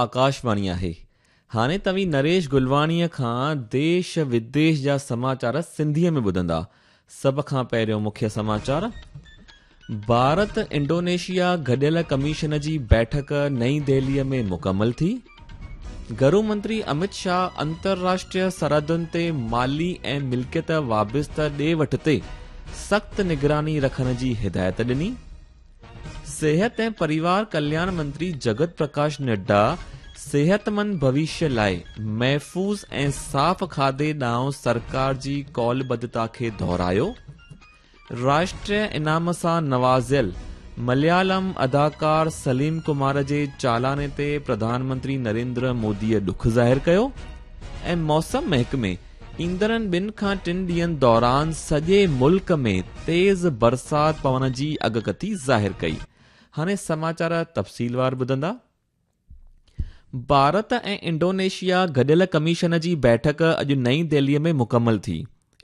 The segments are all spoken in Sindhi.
آڪاشواڻي آهي. هاڻي توهين نريش گلواڻيء کان ديش وديش جا سماچار سنڌيء ۾ ٻڌندا. سڀ کان پهريون مکيه سماچار. ڀارت انڊونيشيا گڏيل ڪميشن جي بيٺڪ نئين دهليء ۾ مڪمل ٿي. گهرو منتري امت شاهه انترراشٽريه سرحدن تي مالي ۽ ملڪيت وابسته ڏي وٺ تي سخت نگراني رکڻ جي هدايت ڏني. صحت ۽ پريوار ڪلياڻ منتري جگت پرڪاش نڊا صحتمند ڀوشيه لاء محفوظ ۽ صاف کاڌي ڏانهن سرڪار جي قولبڌتا کي دهرايو. راشٽريه انعام سان نوازيل مليالم اداڪار سليم ڪمار جي چالاني تي پرڌان منتري نريندر موديء ڏک ظاهر ڪيو ۽ موسم محڪمي ايندڙن ٻن کان ٽن ڏينهن دوران سڄي ملڪ ۾ تيز برسات پوڻ جي اڳڪٿي ظاهر ڪئي. هاڻي سماچار تفصيلوار ٻڌندا. ڀارت ۽ انڊونيشيا گڏيل ڪميشن جي بيٺڪ اڄ نئين دهلي ۾ مڪمل ٿي.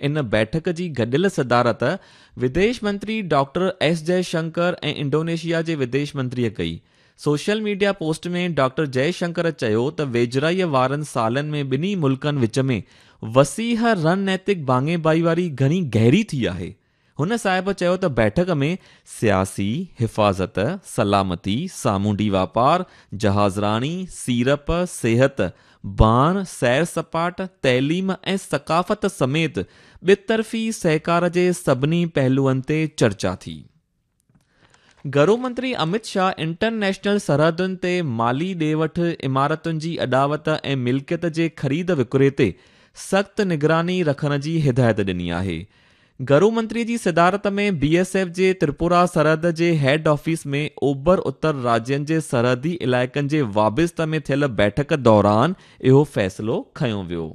ان بيٺڪ جي گڏيل صدارت وديش منتري ڊاڪٽر ايس جئه شنڪر ۽ انڊونيشيا جي وديش منتريء ڪئي. Social media post ۾ doctor Jai Shankar چيو ته ويجهڙائيء وارن سالن ۾ ٻنهي ملڪن وچ ۾ وسيع رڻنيتڪ ڀاڱي ڀائيواري گهڻي گهري ٿي آهي. هن صاحب چيو ته بيٺڪ ۾ سياسي، حفاظت، سلامتي، سامونڊي واپار، جهازراڻي، سيڙپ، صحت، ڀاڻ، سير سپاٽ، تعليم ۽ ثقافت سميت ٻطرفي سهڪار جي سڀني پهلوئن تي چرچا ٿي. گهرو منتري امت شاهه انٽرنيشنل سرحدن تي مالي ڏي وٺ، عمارتن جي اڏاوت ۽ ملڪيت جي خريد وڪري تي سخت نگراني رکڻ جي هدايت ڏني آهي. گهرو منتري جي صدارت ۾ بي ايس ايف جي تريپورا سرحد جي هيڊ آفيس ۾ اوڀر اتر راجين جي سرحدي علائقن جي وابسته ۾ ٿيل بيٺڪ دوران اهو فيصلو کنيو ويو.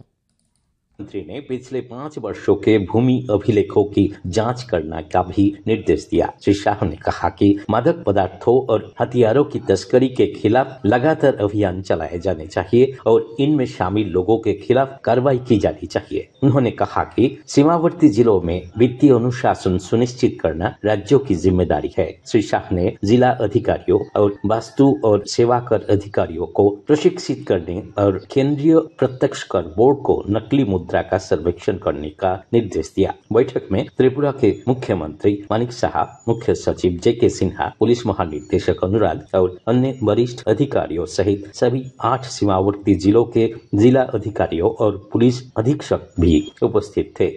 मंत्री ने पिछले 5 वर्षों के भूमि अभिलेखों की जांच करने का भी निर्देश दिया। श्री शाह ने कहा कि मादक पदार्थों और हथियारों की तस्करी के खिलाफ लगातार अभियान चलाए जाने चाहिए और इनमें शामिल लोगों के खिलाफ कार्रवाई की जानी चाहिए। उन्होंने कहा कि सीमावर्ती जिलों में वित्तीय अनुशासन सुनिश्चित करना राज्यों की जिम्मेदारी है। श्री शाह ने जिला अधिकारियों और वस्तु और सेवा कर अधिकारियों को प्रशिक्षित करने और केंद्रीय प्रत्यक्ष कर बोर्ड को नकली मुद्रा का सर्वेक्षण करने का निर्देश दिया। बैठक में त्रिपुरा के मुख्यमंत्री मानिक साहा, मुख्य सचिव जे के सिन्हा, पुलिस महानिदेशक अनुराग और अन्य वरिष्ठ अधिकारियों सहित सभी 8 सीमावर्ती जिलों के जिला अधिकारियों और पुलिस अधीक्षक भी उपस्थित थे।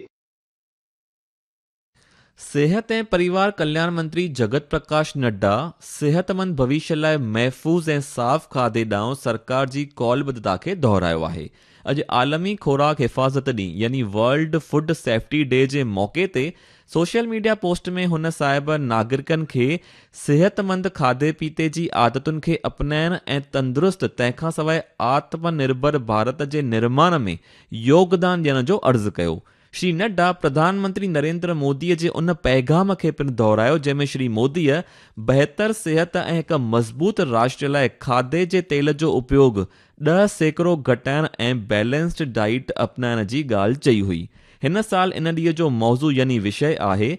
صحت ۽ پريوار ڪلياڻ منتري جگت پرڪاش نڊا صحتمند ڀوشيه لاء محفوظ ۽ صاف کاڌي ڏانهن سرڪار جي قولبڌتا کي دهرايو آهي. اڄ عالمي خوراڪ حفاظت ڏينهن يعني ورلڊ فوڊ سيفٽي ڊي جي موقعي تي سوشل ميڊيا پوسٽ ۾ هن صاحب ناگرڪن کي صحتمند کاڌي پيتي جي عادتن کي اپنائڻ ۽ تندرست تنهن کان سواء آتم نرڀر ڀارت جي نرماڻ ۾ يوگدان ڏيڻ جو عرض ڪيو. شري نڊا پرڌان منتري نريندر موديء جي ان پيغام کي پڻ دهرايو جنهن ۾ شري موديء بهتر صحت ۽ هڪ مضبوط راشٽر لاء کاڌي جي تيل جو اپيوگ 10% گهٽائڻ ۽ بيلنسڊ ڊائيٽ اپنائڻ جي ڳالهه چئي هئي. هن سال ان ڏينهن جو موضوع يعني وشيه آهي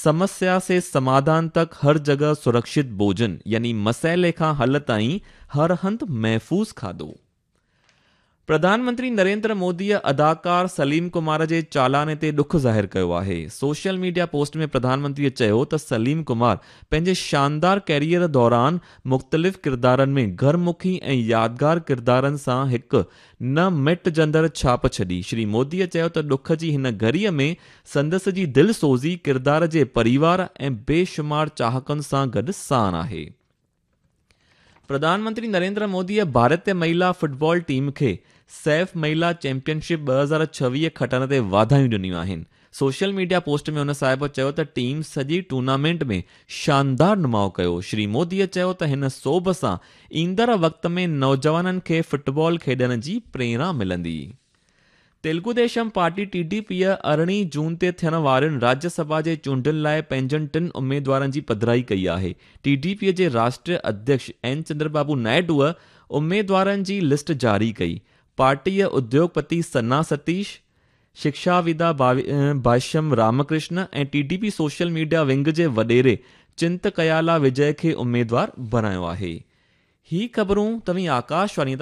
سمسيا سي سماڌان تڪ هر جڳهه سرڪشت ڀوجن يعني مسئلي کان حل تائين هر هنڌ محفوظ کاڌو. پرڌان منتري نريندر موديء اداڪار سليم ڪمار جي چالاني تي ڏک ظاهر ڪيو آهي. سوشل ميڊيا پوسٽ ۾ پرڌان منتريء چيو ته سليم ڪمار پنهنجي شاندار ڪيريئر دوران مختلف ڪردارن ۾ گهرمکي ۽ يادگار ڪردارن سان هڪ نه مٽجندڙ ڇاپ ڇڏي. شري موديء چيو ته ڏک جي هن گهڙيء ۾ سندس جي دلسوزي ڪردار جي پريوار ۽ بيشمار چاهڪن سان گڏ ساڻ آهي. پرڌان منتري نريندر موديء ڀارتي مهلا فٽبال ٽيم کي سيف مهلا چيمپيئن شپ 2026 کٽڻ تي واڌايون ڏنيون آهن. سوشل ميڊيا پوسٽ ۾ هن صاحب چيو ته ٽيم سڄي ٽورنامينٽ ۾ شاندار نماء ڪيو. شري موديء چيو ته هن سوڀ سان ايندڙ وقت ۾ نوجوانن کي فٽبال کيڏڻ جي پريرڻا ملندي. Telugu Desam party T D P 18 جون تي ٿيڻ وارين راجيه سڀا جي چونڊن لاء پنهنجن ٽن اميدوارن جي پڌرائي ڪئي آهي. ٽي ڊي پيء جي راشٽريه اڌيڪش اين چندربابو نائيڊوء اميدوارن جي لسٽ جاري ڪئي. پارٽيء اديوگپتي سنا Satish, شڪشاودا Bhashyam Ramakrishna ۽ T D P social media wing جي وڏيري چنتڪيالا وجي کي اميدوار بڻايو آهي. هي خبرون توهين آڪاشواڻيء تان.